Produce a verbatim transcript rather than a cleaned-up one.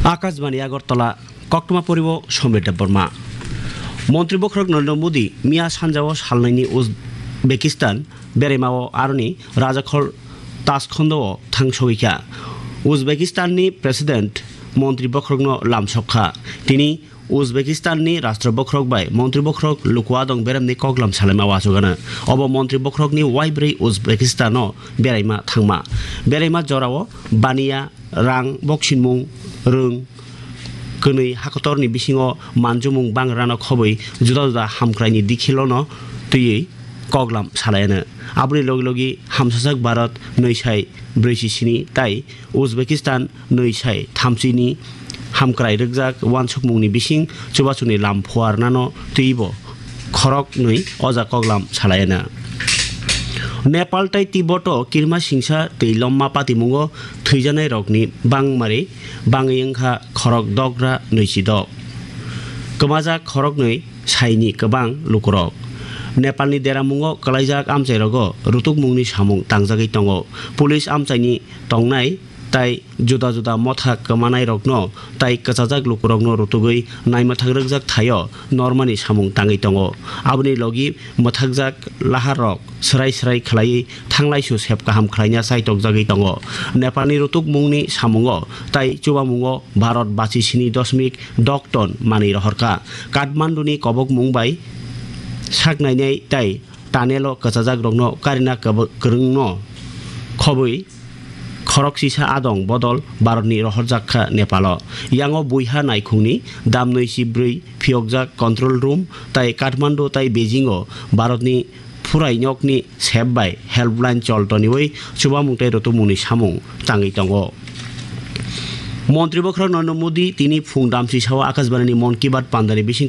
Akashbani Agartala, koktwma poribo Somir Debbarma. Montri bokhorok Narendra Modi miya sanjao salnaini Uzbekistan beraimao aroni rajakhol Tashkondao thang sogwikha. Uzbekistanni President montri bokhorokno lamsokha. Tini Uzbekistanni rashtra bokhorok bai montri bokhorok luku adong beremni koklam salaima uachukgano. Obo montri bokhorokni uaibrwi Uzbekistano beraima thangma. Beraima jorao baniya rang, boksinmung, rwng, kwnwi hakotorni bisingo manjumung bangrano khobwi juda juda hamkraini dikhilono twiwi koklam salaiano. Aboni logi logi hamsajak Bharat nwi sai brwichi sini tai Uzbekistan nwi sai thamchini hamkrai rwkjak uansukmungni bising chubachuni lam phuarnano twibo khoroknwi oja koklam salaiana. Nepal tai Tibboto kirma singsa tei lomma patimungo thwijanairokni bangmari bangwi wngkha khorok dogra nwichi dok. Kwmajak khoroknwi saini kwbang lukurok. Nepalni deramungo kwlaijak amchairogo rutukmungni samung tangjagwi tongo. Police amchaini tongnai tai juda juda motha kwmanairokno tai kwchajak lukurokno rutugwi naimwthang rwkjak thaio normani samung tangwi tongo. Aboni logi mwthakjak laharrok swrai swrai khlaiwi thanglaisu sep kaham khlaina chaitokjagwi tongo. Nepalni rutukmungni samungo tai chubamungo Bharat bachi sini dosmik dok ton manwi rohorkha. Kathmanduni kobokmung bai saknainai tai tunnel-o kwchajakrokno karina kwb-, kwrwngno khobwi khorok sisa adong bodol Bharatni rohorjak kha Nepalo. Yango buiha naikhungni damnwi si bwrwi phiyokjak control room tai Kathmandu tai Beijing-o Bharatni phurainokni sep bai helpline chol toniwi chubamung tei rutumungni samung tangwi tongo. Montri bokhorok Narendra Modi tini phung damchi sao Akashbanini Mann Ki Baat pandani bising